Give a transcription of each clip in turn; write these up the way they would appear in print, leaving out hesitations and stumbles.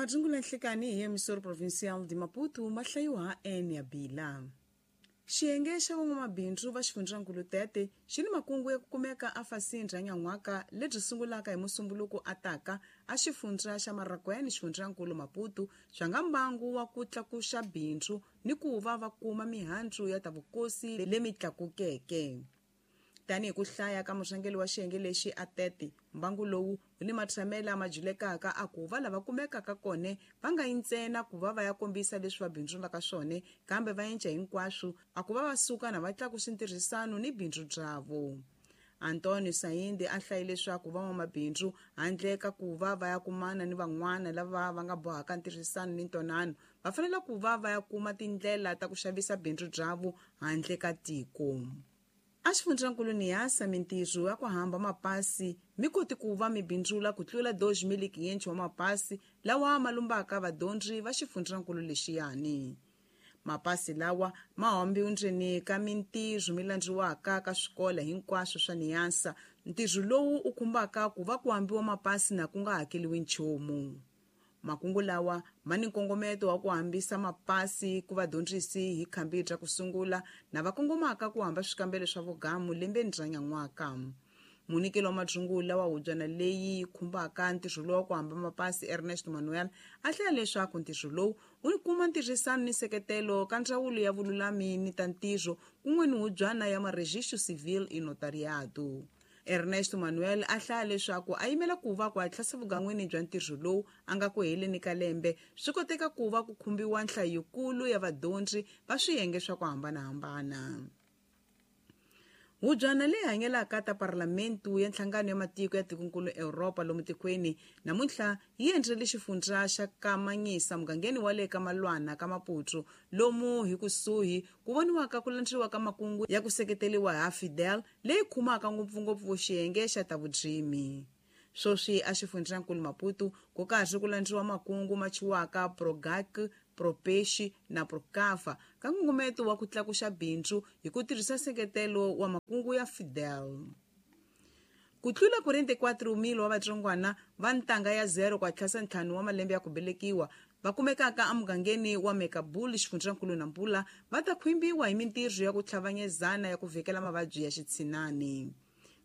Madzungula nhlikani hi emisoro provincial de Maputo ma hlayiwa ha N ya Bila. Xiyenge xa van'wamabindzu va xifundzankulu Tete xi ni makungu ya ku kumeka afasini ra nyan'waka lebyi sungulaka hi Musumbuluku a taka a xifundza xa Marracuene xifundzankulu Maputo swa nga mbangu wa ku tlakuxa bindzu ni ku va va kuma mihandzu ya ta vukosi lemi tlakukeke. Tanihi ku hlaya ka murhangeri wa xiyenge lexi a Tete, mbangu lowu wu ni matshamela ma julekaka a ku va lava kumekaka kone va nga yi ntsena ku va va ya kombisa leswi va bindzulaka swone, kambe va enca hinkwaswo a ku va va suka na va tlakusa ntirhisano ni bindzu byavo. Antonio Saindi a hlaye leswaku van'wamabindzu handle ka ku va va ya kumana ni van'wana lava va nga bohaka ntirhisano ni ntwanano, va fanele ku va va ya kuma tindlela ta ku xavisa bindzu byavo handle ka tiko. A xifundzankulu Niassa mintirho ya ku hamba mapasi mi koti ku va mi bindzula ku tlula 2.500 wa mapasi lawa ma lumbaka vadyondzi va xifundzankulu lexiyani. Mapasi lawa ma hambiwa ndzeni ka mintirho mi landziwaka ka swikolo hinkwaswo swa Niassa. Ntirho lowu u khumbaka ku va ku hambiwa mapasi na ku nga hakeliwi nchumu. Makungu lawa ma ni nkongometo wa ku hambisa mapasi ku vadyondzisi hi khambi ra ku sungula na va kongomaka ku hamba swikambelo swa vugamu lembeni ra nyan'waka. Munyikeli wa madzungula wa hubyana leyi khumbaka ntirho lowu wa ku hamba mapasi Ernest Manuel a hlaya leswaku ntirho lowu wu kuma ntirhisano ni nseketelo ka ndzawulo ya vululami ni ta ntirho kun'we ni hubyana ya Maregistro Civil e Notariado. Ernesto Manuel a hlaya leswaku a yimela ku va ku hatlisa vugan'wini bya ntirho lowu a nga ku heleni ka lembe swi koteka ku va ku khumbiwa nhlayo yikulu ya vadyondzi va swiyenge swa ku hambanahambana. Hubyana leyi hanyelaka ta parlamentu ya nhlangano ya matiko ya tikonkulu Europa lomu tikweni namuntlha yi endlele xifundza xa Kamanyisa mugangeni wa le ka Malwana ka Maputo lomu hi kusuhi ku voniwaka ku landziwa ka makungu ya ku seketeriwa ha Fidel leyi khumaka ngopfungopfu xiyenge xa ta vudzimi. Swoswi a xifundzankulu Maputo ku karhi ku landziwa makungu ma chiwaka Progac, Propexi na Procava ka nkongometo wa ku tlakuxa bindzu hi ku tirhisa nseketelo wa makungu ya Fidel. Ku tlula 44,000 wa vatsongwana va ntanga ya 0 ku hatlisa 5 wa malembe ya ku velekiwa va kumekaka emugangeni wa Mekabul xifundzankulu Nampula va ta khwimbiwa hi mintirho ya ku tlhavanyezana ya ku vhikela mavabyi ya xitshinani.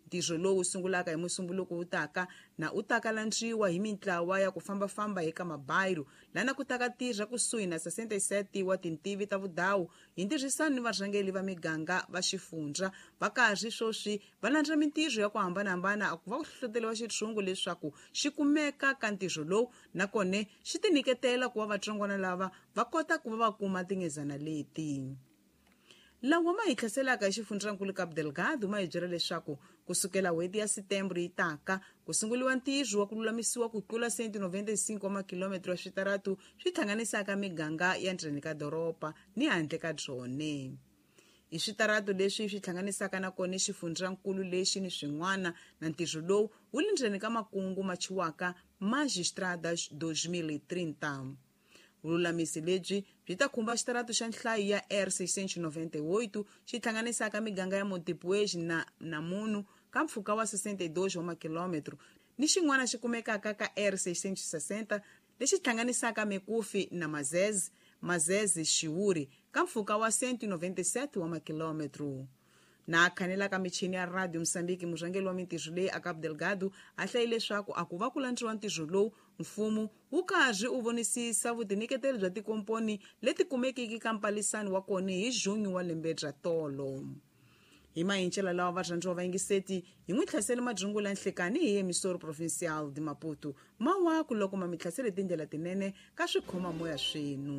Ntirho lowu sungulaka hi Musumbuluku wu taka na u taka landziwa hi mintlawa ya ku fambafamba eka mabayiro lana ku taka tirha kusuhi na 67 wa tintivi ta vudawu hi ntirhisano ni varhangeri va miganga va xifundza va karhi swoswi va landza mintirho ya ku hambanahambana a ku va ku hlohloteriwa xitshungu leswaku xi kumeka ka ntirho lowu nakone xi tinyiketela ku va vatsongwana lava va kota ku va va kuma tingezana leti. Lawa ma hi tlhaselaka hi xifundzankulu Cabo Delgado ma hi byela leswaku kusukela n'hweti ya Setembro yi taka ku sunguriwa ntirho wa ku lulamisiwa ku tlula 195 wa makilometro ya switaratu swi hlanganisaka miganga ya ndzeni ka doroba ni handle ka byone. I switaratu leswi swi hlanganisaka na kona xifundzankulu lexi ni swin'wana na ntirho lowu wu le ndzeni ka makungu ma chiwaka Magistradas 2030. Vululamisi lebyi byi ta khumba xitaratu xa nhlayo ya R698 xi hlanganisaka miganga ya Montepuez na Namunu ka mpfhuka wa 62 wa makilometro ni xin'wana xi kumekaka ka R660 lexi hlanganisaka Mekufi na Mazeze, Mazeze Xiwuri ka mpfhuka wa 197 wa makilometro. Na khanelaka michini ya Radio Mozambique murhangeri wa mintirho leyi a Cabo Delgado a hlayi leswaku a ku va ku landziwa ntirho lowu mfumo wu karhi u vonisisa vutinyiketeli bya tikomponi leti kumekiki ka mpalisano wa kona hi junho wa lembe bya tolo. Hi mahincela lawa varhandziwa va yingiseti hi n'wi hlasele madzungula nhlekani hi emisoro provincial de Maputo mawaku loko ma mi hlasele tindlela tinene ka swikhoma moya swenu.